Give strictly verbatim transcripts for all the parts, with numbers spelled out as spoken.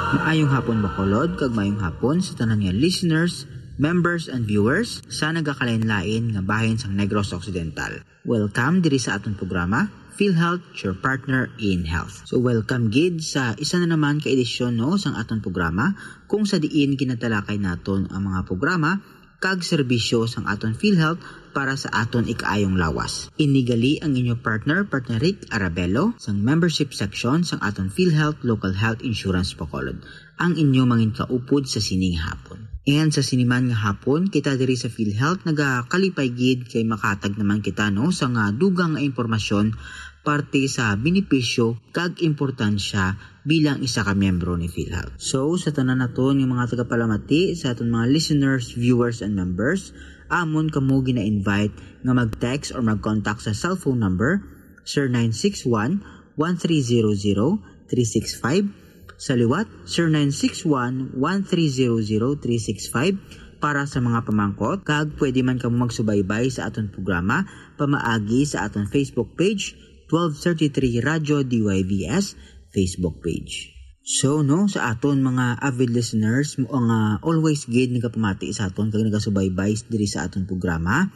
Maayong hapon, Bacolod, kag maayong hapon sa tanan nga listeners, members, and viewers sa nagakalain-lain nga bahin sang Negros Occidental. Welcome diri sa aton programa, PhilHealth, your partner in health. So, welcome gid sa isa na naman ka edisyon, no, sang aton programa, kung sa diin ginatalakay naton ang mga programa kag serbisyo sang aton PhilHealth para sa aton ikaayong lawas. Ini gali ang inyo partner, Partner Rick Arabelo, sang membership section sang aton PhilHealth Local Health Insurance Bacolod, ang inyo mangin kaupod sa sining hapon. And sa siniman nga hapon, kita diri sa PhilHealth nagakalipay gid kay makatag naman kita, no, sa nga dugang nga impormasyon parte sa benepisyo kag importansya bilang isa ka miyembro ni PhilHealth. So, sa tanan naton nga mga tagapalamati, sa aton mga listeners, viewers, and members, amon kamo gina-invite nga mag-text or mag-contact sa cellphone number zero nine six one, one three zero zero, three six five. Sa liwat, zero nine six one, one three zero zero, three six five para sa mga pamangkot, kag pwede man kamo magsubaybay sa aton programa pamaagi sa aton Facebook page, twelve thirty-three Radyo D Y V S Facebook page. So, no, sa aton mga avid listeners, mo nga always gid nagapamati sa aton kag nagasubaybay diri sa aton programa,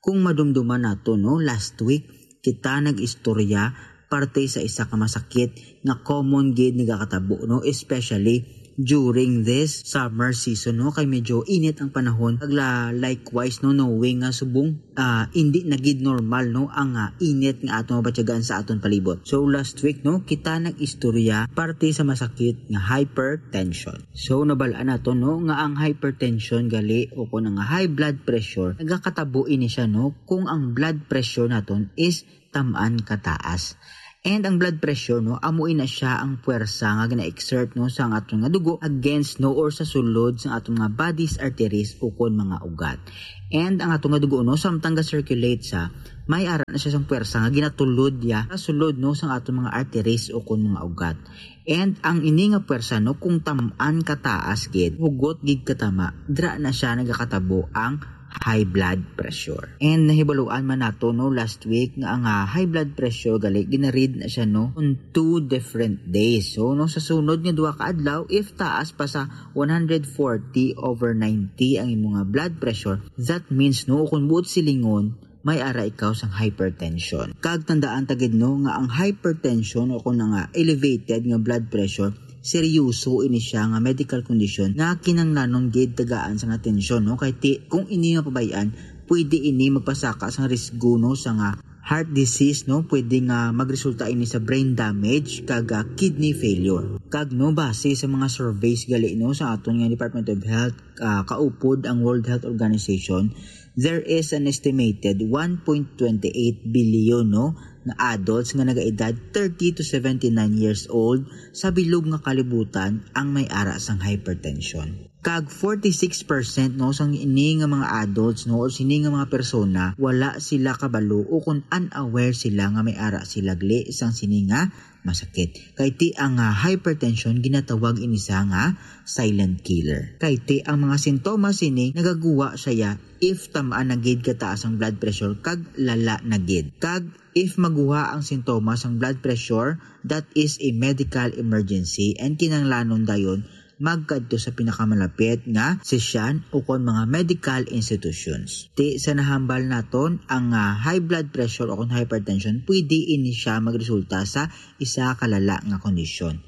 kung madumduman nato, no, last week kita nag-istorya parte sa isa ka masakit nga common gid nagakatabo, no, especially during this summer season, no, kay medyo init ang panahon. Kag la-, likewise, no, knowing nga subong, ah, hindi na gid normal, no, ang, ah, init nga aton mabatyagan sa aton palibot. So, last week, no, kita nag-istorya parte sa masakit nga hypertension. So, nabal-an nato, no, nga ang hypertension gali o kon ang high blood pressure, nagakatabo ini siya, no, kung ang blood pressure naton is tam-an kataas. And ang blood pressure, no, amo ina siya ang puwersa nga gina-exert, no, sa ang aton nga dugo against, no, or sa sulod sa aton nga body's arteries o kon mga ugat. And ang aton nga dugo, no, samtang ga-circulate sa, may ara na siya sang puwersa nga ginatulod ya sa sulod, no, sa aton mga arteries o kon mga ugat. And ang ini nga puwersa, no, kung tam-an kataas gid, hugot gid katama, dira na siya nagakatabo ang high blood pressure. And nahibaluan man nato, no, last week nga ang, ah, high blood pressure gali ginaread na siya, no, on two different days. So, no, sa sunod nga duha ka adlaw, if taas pa sa one hundred forty over ninety ang imo nga blood pressure, that means, no, kung buot silingon, may ara ikaw sang hypertension. Kag tandaan ta gid, no, nga ang hypertension o kung nga elevated nga blood pressure, seryoso ini siya nga medical condition nga kinahanglanon gid tagaan sang atensyon, no? Kay ti, kung ini mapabayaan, pwede ini magpasaka sang risgo, no, sa nga heart disease, no? Pwede nga magresulta ini sa brain damage kag, ah, kidney failure. Kag, no, base sa mga surveys gali, no, sa aton nga Department of Health, ah, kaupod ang World Health Organization, there is an estimated one point twenty eight billion, no, nga adults nga nagaedad thirty to seventy-nine years old sa bilog nga kalibutan ang may ara sang hypertension. Kag forty-six percent, no, sang ini nga mga adults, no, o sini nga mga persona, wala sila kabalo o kung unaware sila nga may ara sila gali sang sini nga masakit. Kay ti ang, ah, hypertension, ginatawag ini siya nga silent killer. Kay ti ang mga sintomas sini nagaguwa siya if tam-an na gid kataas ang blood pressure kag lala na gid. Kag if maguha ang sintomas sang blood pressure, that is a medical emergency and kinahanglanon dayon magkadto sa pinakamalapit nga sesyan o kon mga medical institutions. Ti sa nahambal naton, ang, ah, high blood pressure o kon hypertension, pwede ini siya magresulta sa isa ka lala nga kondisyon.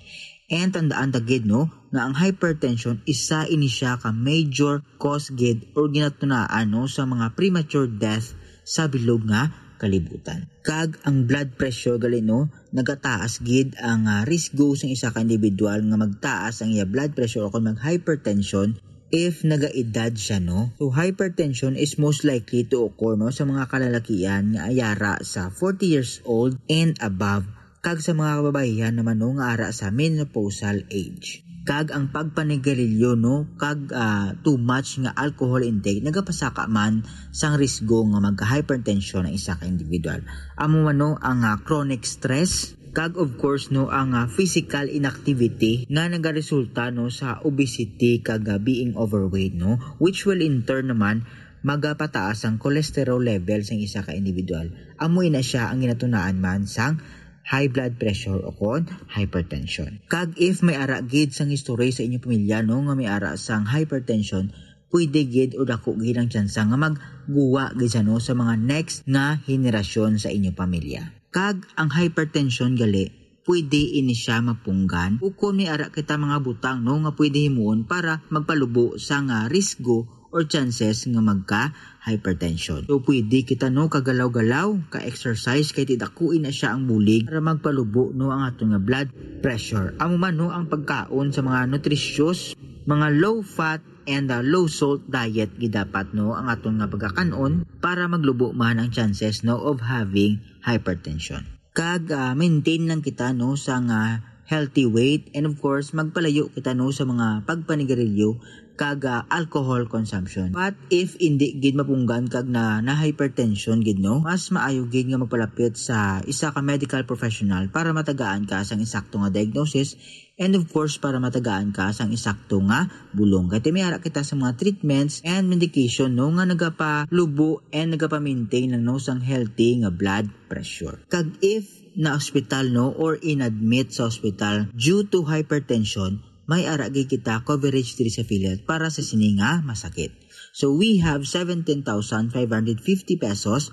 And tandaan ta gid, no, nga ang hypertension isa ini siya ka major cause gid or ginatunaan, no, sa mga premature death sa bilog nga kalibutan. Kag ang blood pressure gali, no, nagataas gid ang, ah, risgo sang isa ka individual nga magtaas ang iya blood pressure o kon mag-hypertension if nagaedad siya, no? So, hypertension is most likely to occur, no, sa mga kalalakian nga ayara sa forty years old and above, kag sa mga kababaihan naman, no, nga ara sa menopausal age. Kag ang pagpanigarilyo, no, kag, ah, too much nga alcohol intake nagapasaka man sang risgo nga magka-hypertension ang isa ka individual. Amo man, no, ang, ah, chronic stress, kag of course, no, ang, ah, physical inactivity nga nagaresulta, no, sa obesity kag, ah, being overweight, no, which will in turn naman magapataas ang cholesterol level sang isa ka individual. Amo ina siya ang ginatunaan man sang high blood pressure o kon hypertension. Kag if may ara gid sang history sa inyong pamilya, no, nga may ara sang hypertension, pwede gid o dako gid ang tsansa nga magguwa gid sa, no, sa mga next nga henerasyon sa inyong pamilya. Kag ang hypertension gali, pwede ini siya mapunggan. Ukon may ara kita mga butang, no, nga pwede himuon para magpalubo sa nga risgo or chances nga magka hypertension. So, pwede kita, no, kagalaw-galaw, ka-exercise, kay ti dakuin na siya ang bulig para magpalubo, no, ang aton nga blood pressure. Amo man, no, ang pagkaon sa mga nutritious, mga low fat and uh, low salt diet gid dapat, no, ang aton nga pagkakan-on para maglubo man ang chances, no, of having hypertension. Kag uh, maintain lang kita, no, sa nga healthy weight, and of course magpalayo kita, no, sa mga pagpanigarilyo kag ah, alcohol consumption. But if indi gid mapunggan kag na, na hypertension gid, no, mas maayo gid nga magpalapit sa isa ka medical professional para matagaan ka sang insakto nga diagnosis, and of course para matagaan ka sang insakto nga bulong. Kay ti may ara kita sa mga treatments and medication, no, nga nagapalubo and nagapa-maintain lang, no, sang healthy nga blood pressure. Kag if na hospital, no, or inadmit sa hospital due to hypertension, may ara gid kita coverage diri sa PhilHealth para sa sini nga masakit. So we have seventeen thousand five hundred fifty pesos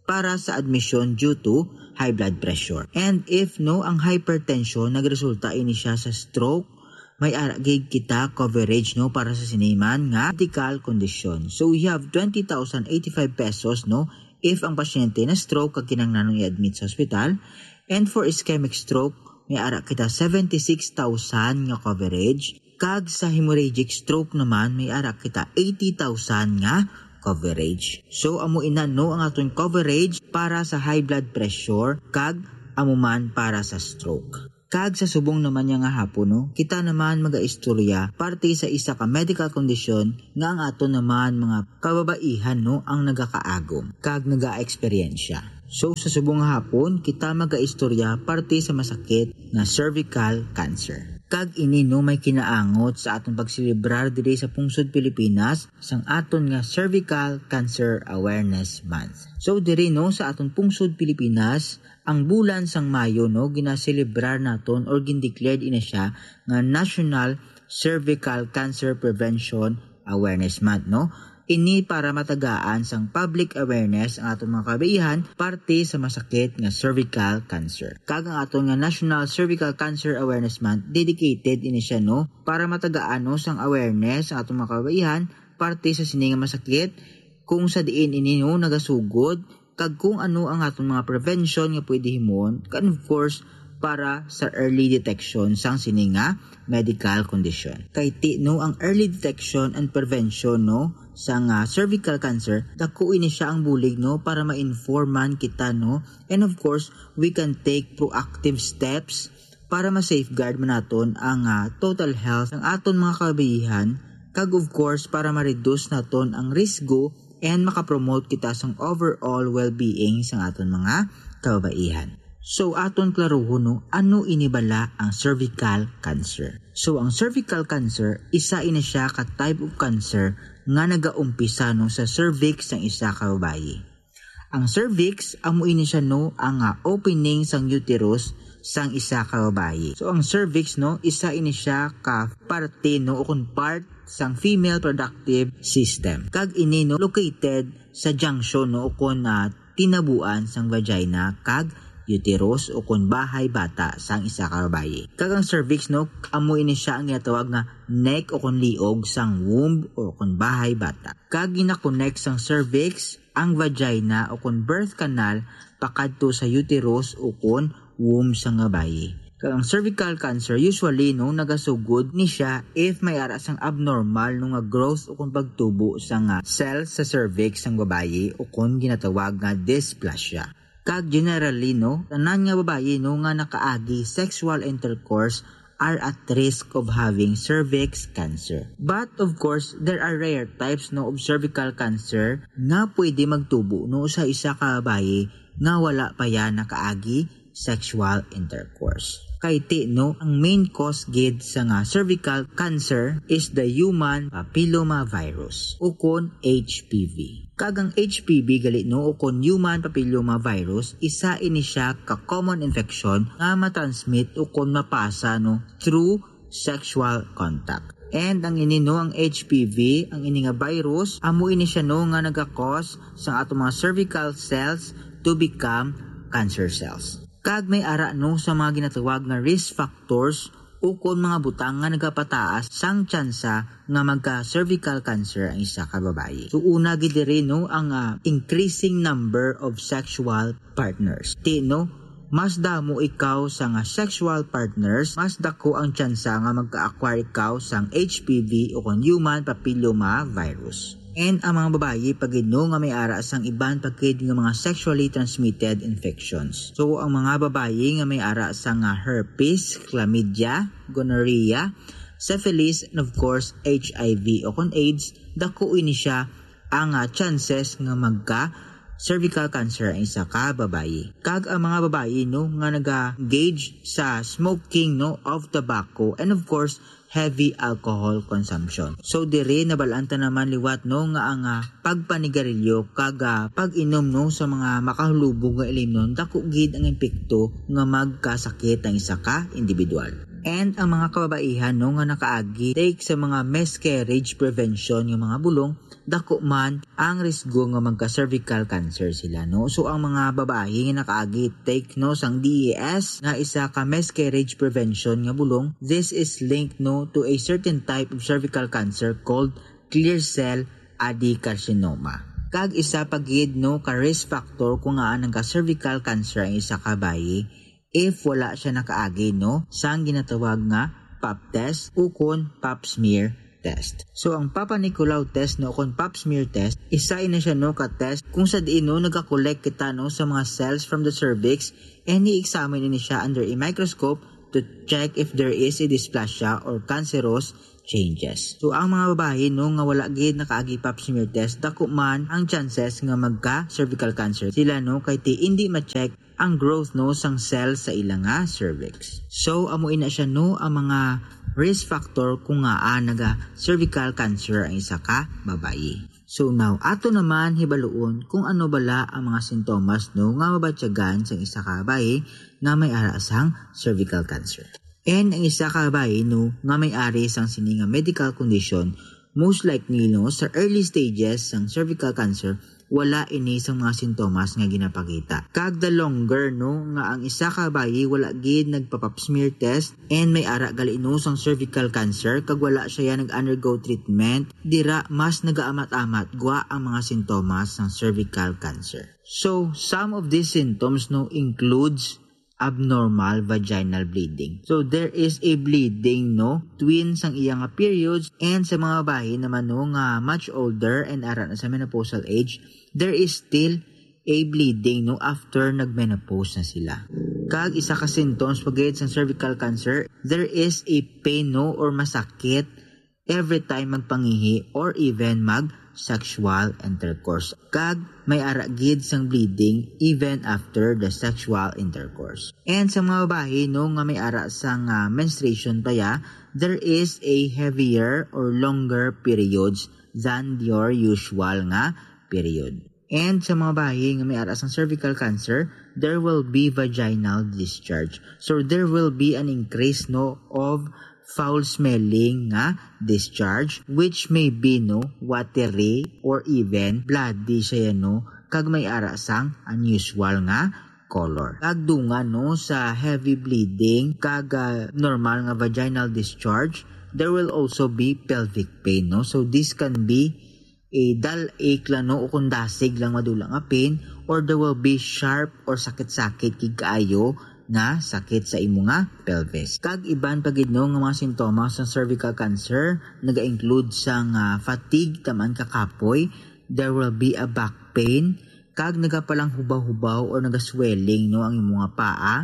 para sa admission due to high blood pressure. And if, no, ang hypertension nagresulta ini siya sa stroke, may ara gid kita coverage, no, para sa sini man nga medical condition. So we have twenty thousand eighty-five pesos, no, if ang pasyente na stroke kag kinahanglanong i-admit sa hospital. And for ischemic stroke, may ara kita seventy-six thousand nga coverage. Kag sa hemorrhagic stroke naman, may ara kita eighty thousand nga coverage. So, amo ina, no, ang aton coverage para sa high blood pressure kag amo man para sa stroke. Kag sa subong naman niya nga hapon, no, kita naman magaistorya parte sa isa ka medical condition nga ang aton naman mga kababaihan, no, ang nagakaagom kag nagaeksperyensya. So, sa subong nga hapon, kita magaistorya parte sa masakit nga cervical cancer. Kag ini, no, may kinaangot sa aton pagselebrar diri sa pungsod Pilipinas sang aton nga Cervical Cancer Awareness Month. So, diri, no, sa aton pungsod Pilipinas, ang bulan sang Mayo, no, ginaselebrar naton or gindeclared ina siya nga National Cervical Cancer Prevention Awareness Month, no? Ini para matagaan sang public awareness ang aton mga kabaihan parte sa masakit nga cervical cancer. Kag ang aton nga National Cervical Cancer Awareness Month, dedicated ini siya, no, para matagaan, no, sang awareness ang aton mga kabaihan parte sa sini nga masakit, kung sa diin ini, no, nagasugod, kag kung ano ang aton mga prevention nga pwede himuon, and of course, para sa early detection sang sini nga medical condition. Kay ti, no, ang early detection and prevention, no, sa nga cervical cancer, dako ini siya ang bulig, no, para ma-informan kita, no, and of course, we can take proactive steps para ma-safeguard man naton ang ah, total health ng aton mga kababaihan, kag of course para ma-reduce naton ang risgo and makapromote kita sang overall well-being sang aton mga kababaihan. So, aton klaruhon, no, ano ini bala ang cervical cancer. So, ang cervical cancer, isa ini siya ka type of cancer nga nagaumpisa, no, sa cervix sang isa ka babayi. Ang cervix, amo ini siya, no, ang ah, opening sang uterus sang isa ka babayi. So, ang cervix, no, isa ini siya ka parte, no, o kon part sang female productive system. Kag ini, no, located sa junction, no, o kon ah, tinabuan sang vagina kag uterus o kon bahay bata sang isa ka babayi. Kag ang cervix, no, amo ini siya ang ginatawag nga neck o kon liog sang womb o kon bahay bata. Kag gina-connect sang cervix ang vagina o kon birth canal pakadto sa uterus o kon womb sang babayi. Kag ang cervical cancer usually, no, nagasugod ni siya if may ara sang abnormal, no, nga growth o kon pagtubo sa nga cell sa cervix sang babayi o kon ginatawag nga dysplasia. Kag generally, no, tanan nga babayi, no, nga nakaagi sexual intercourse are at risk of having cervix cancer. But of course, there are rare types, no, of cervical cancer nga pwede magtubo, no, sa isa ka babayi nga wala pa yan nakaagi sexual intercourse. Kay ti, no, ang main cause gid sa nga cervical cancer is the human papillomavirus, ukon H P V. Kag ang H P V gali, no, ukon human papillomavirus, isa ini siya ka common infection nga matransmit ukon mapasa, no, through sexual contact. And ang ini, no, ang H P V, ang ini nga virus, amo ini siya, no, nga nagakos sa ato mga cervical cells to become cancer cells. Kag may ara, no, sa mga ginatawag nga risk factors ukon mga butang nga nagapataas sang tsansa nga magka-cervical cancer ang isa ka babayi. So, una gid diri, no, ang, ah, increasing number of sexual partners. Ti, no, mas damo ikaw sa nga sexual partners, mas dako ang tsansa nga magka-acquire ikaw sang H P V ukon human papillomavirus. And ang mga babayi pa gid, no, nga may ara sang iban pa gid nga mga sexually transmitted infections. So, ang mga babayi nga may ara sa nga herpes, chlamydia, gonorrhea, syphilis, and of course, H I V ukon AIDS, dako ini siya ang, ah, chances nga magka cervical cancer ang isa ka babayi. Kag ang mga babayi, no, nga naga-engage sa smoking, no, of tobacco, and of course, heavy alcohol consumption. So, diri nabal-an ta naman liwat, no, nga ang, ah, pagpanigarilyo kag, ah, pag-inom, no, sa mga makahulubog nga ilimnon, dako gid ang epekto nga magkasakit ang isa ka individual. And ang mga kababaihan, no, nga nakaagi take sa mga miscarriage prevention nga mga bulong, dako man ang risgo nga magka-cervical cancer sila, no? So, ang mga babayi nga nakaagi take, no, sang D E S nga isa ka miscarriage prevention nga bulong, this is linked, no, to a certain type of cervical cancer called clear cell adenocarcinoma. Kag isa pa gid, no, ka risk factor kung ngaa nagka-cervical cancer ang isa ka bayi if wala siya nakaagi, no, sang ginatawag nga pap test ukon pap smear test. So, ang Papa Nicolau test, no, ukon pap smear test, isa ina siya, no, ka test kung sa diin, no, nagakollect kita, no, sa mga cells from the cervix, and i-examine ini siya under a microscope to check if there is a dysplasia or cancerous changes. So, ang mga babayi, no, nga wala gid nakaagi pap smear test, dako man ang chances nga magka cervical cancer sila, no, kay ti indi ma-check ang growth, no, sang cell sa ila nga cervix. So, amo ina siya, no, ang mga risk factor kung ngaa naga cervical cancer ang isa ka babayi. So now, ato naman hibaluon kung ano bala ang mga sintomas, no, nga mabatyagan sang isa ka babayi nga may ara sang cervical cancer. And ang isa ka babayi, no, nga may ari sang sini nga medical condition, most likely, no, sa early stages sang cervical cancer, wala ini sang mga sintomas nga ginapakita. Kag the longer, no, nga ang isa ka babayi wala gid nagpa-pap smear test and may ara gali, no, sang cervical cancer kag wala siya nag-undergo treatment, dira mas nagaamat-amat gwa ang mga sintomas sang cervical cancer. So, some of these symptoms, no, includes abnormal vaginal bleeding. So, there is a bleeding, no, twin sang iya nga periods, and sa mga babayi naman, no, nga much older and ara na sa menopausal age, there is still a bleeding, no, after nag-menopause na sila. Kag isa ka symptoms pa gid sang cervical cancer, there is a pain, no, or masakit every time magpangihi or even mag sexual intercourse. Kag may ara gid sang bleeding even after the sexual intercourse. And sa mga babayi, no, nga may ara sang, ah, menstruation pa ya, there is a heavier or longer periods than your usual nga period. And sa mga babayi nga may ara sang cervical cancer, there will be vaginal discharge. So there will be an increase, no, of foul smelling nga discharge, which may be, no, watery or even bloody siya, no, kag may ara sang unusual nga color. Kag dungan, no, sa heavy bleeding kag, ah, normal nga vaginal discharge, there will also be pelvic pain, no? So this can be a dull ache lang, no, o kung dasig lang madula nga pain, or there will be sharp or sakit-sakit gid kaayo nga sakit sa imo nga pelvis. Kag iban pa gid, no, nga mga sintomas sang cervical cancer naga-include sang, ah, fatigue, taman ka kapoy, there will be a back pain, kag nagapalanghubaw-hubaw or naga-swelling, no, ang imo nga paa,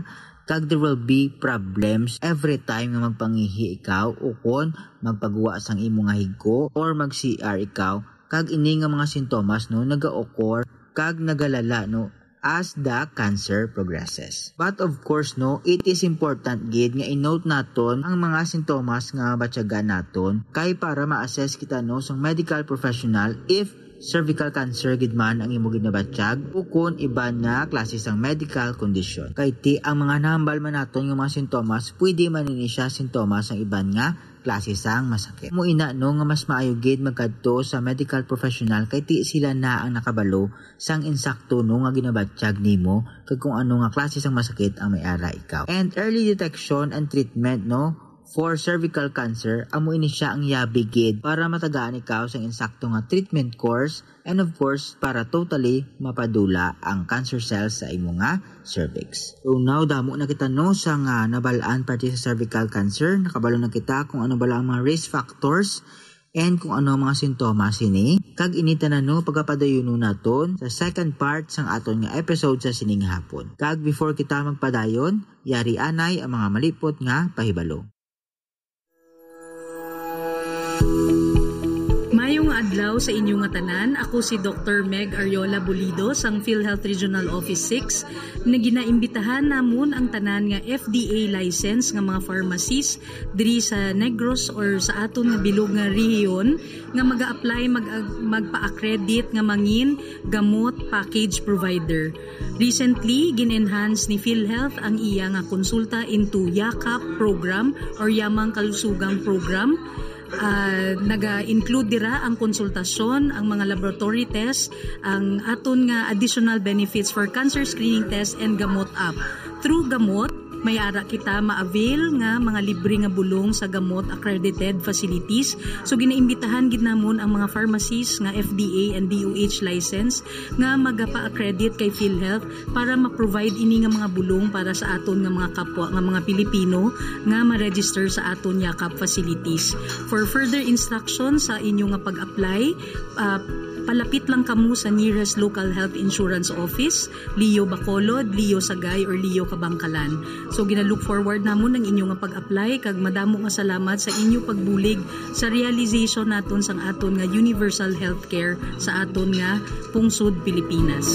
kag there will be problems every time nga magpangihi ikaw ukon magpaguwa sang imo nga higko or mag-C R ikaw, kag ini nga mga sintomas, no, naga-occur kag nagalala, no, as the cancer progresses. But of course, no, it is important gid nga i-note naton ang mga sintomas nga mabatyagan naton kay para ma-assess kita, no, sang medical professional if cervical cancer gid man ang imo ginabatyag o kon iban nga klase sang medical condition. Kay ti ang mga nahambal man naton nga mga sintomas, pwede man ini siya sintomas sang iban nga klase sang masakit. Mo ina, no, nga mas maayo gid magkadto sa medical professional kay ti sila na ang nakabalo sang insakto, no, nga ginabatyag nimo kag kung ano nga klase sang masakit ang may ara ikaw. And early detection and treatment, no, for cervical cancer, amo ini siya ang yabi gid para matagaan ikaw sang insakto nga treatment course and of course para totally mapadula ang cancer cells sa imo nga cervix. So now damo na kita, no, sa nga nabal-an parte sa cervical cancer. Nakabalo na kita kung ano bala ang mga risk factors and kung ano ang mga sintomas sini. Kag ini tanan, no, pagapadayonon naton sa second part sang aton nga episode sa sining hapon. Kag before kita magpadayon, yari anay ang mga malipot nga pahibalo. Mayong adlaw sa inyo nga tanan. Ako si Doktor Meg Ariola Bulido sang PhilHealth Regional Office six, nga ginaimbitahan namon ang tanan nga F D A license nga mga pharmacies diri sa Negros or sa aton nga bilog nga rehiyon nga mag-a-apply mag magpa-accredit nga mangin gamot package provider. Recently, gin-enhance ni PhilHealth ang iya nga konsulta into YAKAP program or Yamang Kalusugang Program. Ah, naga-include dira ang konsultasyon, ang mga laboratory test, ang aton nga additional benefits for cancer screening test and Gamot app. Through Gamot, may ara kita ma-avail nga mga libre nga bulong sa Gamot accredited facilities. So, ginaimbitahan gid namon ang mga pharmacies nga F D A and D O H license nga magapa-accredit kay PhilHealth para ma-provide ini nga mga bulong para sa aton nga mga kapwa nga mga Pilipino nga ma-register sa aton YAKAP facilities. For further instruction sa inyo nga pag-apply, ah, palapit lang kamo sa nearest local health insurance office, LEO Bacolod, LEO Sagay, or LEO Kabankalan. So, gina-look forward namon ang inyo nga pag-apply, kag madamo nga salamat sa inyo pagbulig sa realization naton sang aton nga universal healthcare sa aton nga pungsod Pilipinas.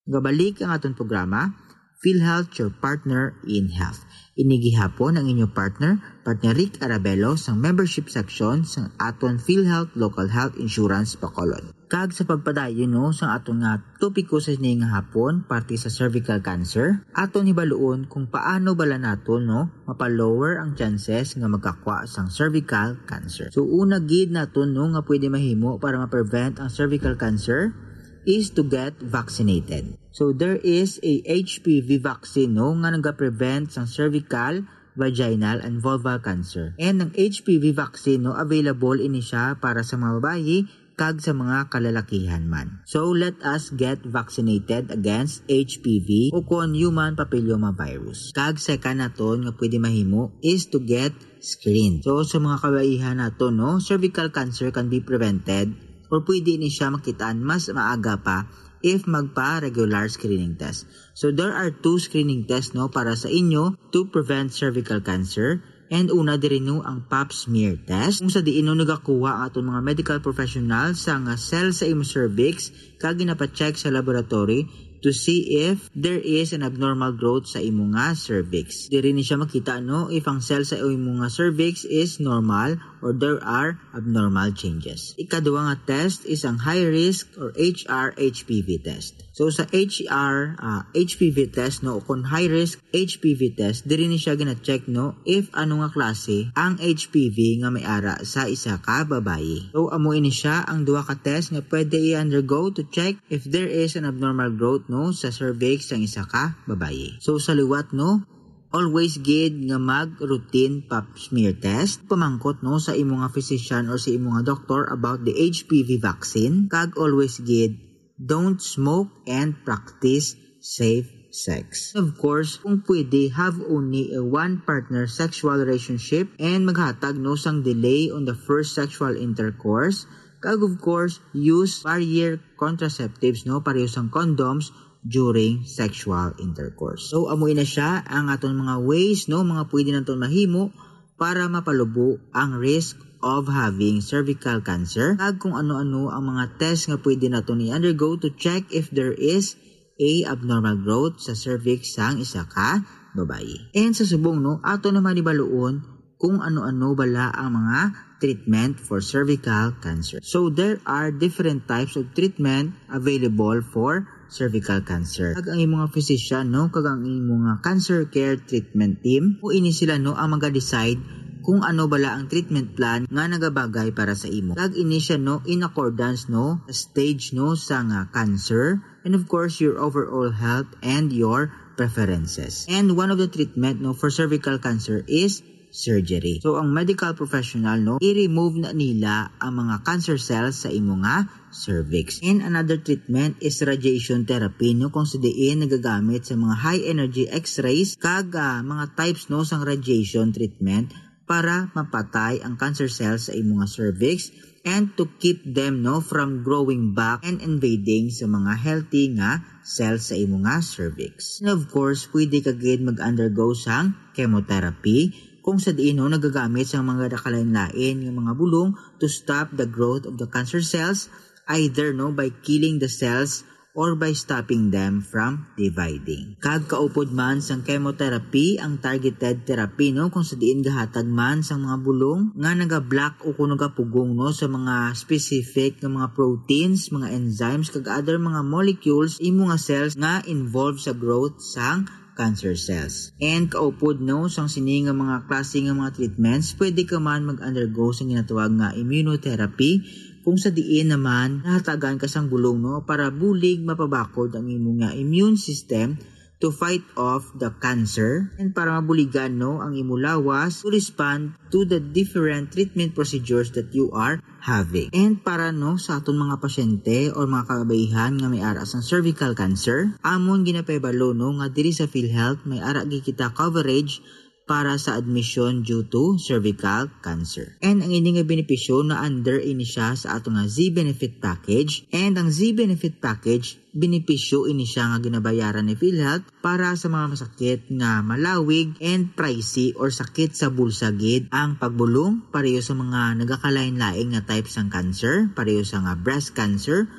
Gabalik ang aton programa, PhilHealth, your partner in health. Ini gihapon ang inyo partner, partner Rick Arabelo sang membership section sang aton PhilHealth Local Health Insurance Bacolod. Kag sa pagpadayon, no, sang aton nga topiko sa sini nga hapon, parte sa cervical cancer, aton hibaluon kung paano bala naton, no, mapa-lower ang chances nga magkakwa sang cervical cancer. So, una gid naton, no, nga pwede mahimo para ma-prevent ang cervical cancer is to get vaccinated. So, there is a H P V vaccine, no, nga nagaprevent sang cervical, vaginal, and vulval cancer. And ang H P V vaccine, no, available ini siya para sa mga babayi kag sa mga kalalakihan man. So, let us get vaccinated against H P V o kon human papilloma virus. Kag second naton nga pwede mahimo is to get screened. So, sa mga kabaihan naton, no, cervical cancer can be prevented or pwede ni siya makitaan mas maaga pa if magpa-regular screening test. So, there are two screening tests, no, para sa inyo to prevent cervical cancer. And una diri, no, ang pap smear test, kung sa diin, no, nagakuha ang aton mga medical professional sa nga cell sa imo cervix kag ginapa-check sa laboratory to see if there is an abnormal growth sa imo nga cervix. Diri ni siya makita, no, if ang cell sa imo nga cervix is normal or there are abnormal changes. Ikaduha nga test is ang high risk or H R H P V test. So, sa H R, ah, H P V test, no, o kon high risk H P V test, diri ni siya gina-check, no, if ano nga klase ang H P V nga may ara sa isa ka babayi. So, amo ini siya ang duha ka test nga pwede i-undergo to check if there is an abnormal growth, no, sa cervix sang isa ka babayi. So, sa liwat, no, always gid nga mag-routine pap smear test. Pamangkot, no, sa imo nga physician or sa imo nga doktor about the H P V vaccine. Kag always gid, don't smoke and practice safe sex. Of course, kung pwede, have only a one partner sexual relationship and maghatag, no, sang delay on the first sexual intercourse. Kag of course, use barrier contraceptives, no, pareho sang condoms during sexual intercourse. So, amo na siya ang aton mga ways, no, mga pwede naton mahimo para mapalubo ang risk of having cervical cancer, kag kung ano-ano ang mga test nga pwede naton i-undergo to check if there is a abnormal growth sa cervix sang isa ka babayi. And sa subong, no, ato naman ibaluon kung ano-ano bala ang mga treatment for cervical cancer. So there are different types of treatment available for cervical cancer. Kag ang imong physician, no, kag ang imong cancer care treatment team, o ini sila, no, ang maga-decide kung ano bala ang treatment plan nga nagabagay para sa imo. Kag ini siya, no, in accordance, no, sa stage, no, sa nga cancer, and of course your overall health and your preferences. And one of the treatment, no, for cervical cancer is surgery. So ang medical professional, no, i-remove na nila ang mga cancer cells sa imo nga cervix. And another treatment is radiation therapy, no, kung sa diin nagagamit sa mga high energy x-rays kag ah, mga types, no, sang radiation treatment para mapatay ang cancer cells sa imo nga cervix and to keep them, no, from growing back and invading sa mga healthy nga cells sa imo nga cervix. And of course, pwede ka gid mag-undergo sang chemotherapy kung sa diin, no, nagagamit sang mga nakalain-lain nga mga bulong to stop the growth of the cancer cells, either, no, by killing the cells or by stopping them from dividing. Kag kaupod man sang chemotherapy ang targeted therapy, no, kung sa diin gahatag man sang mga bulong nga nagablock o kung nagapugong, no, sa mga specific nga mga proteins, mga enzymes, kag other mga molecules, imo nga cells nga involved sa growth sang cancer cells. And kaupod, no, sang sini nga mga klase nga mga treatments, pwede ka man mag-undergo sa ginatawag nga immunotherapy, kung sa diin naman nahatagan ka sang bulong, no, para bulig mapabakod ang imo nga immune system to fight off the cancer and para mabuligan, no, ang imo lawas to respond to the different treatment procedures that you are having. And para, no, sa aton mga pasyente or mga kababaihan nga may ara sang cervical cancer, amon ginapahibalo, no, nga diri sa PhilHealth may ara gid kita coverage para sa admission due to cervical cancer. And ang ini nga benepisyo na under ini siya sa ato nga Z Benefit Package. And ang Z Benefit Package, benepisyo ini siya nga ginabayaran ni PhilHealth para sa mga masakit nga malawig and pricey or sakit sa bulsa gid ang pagbulong, pareho sa mga nagakalain-lain nga type sang cancer, pareho sa nga breast cancer,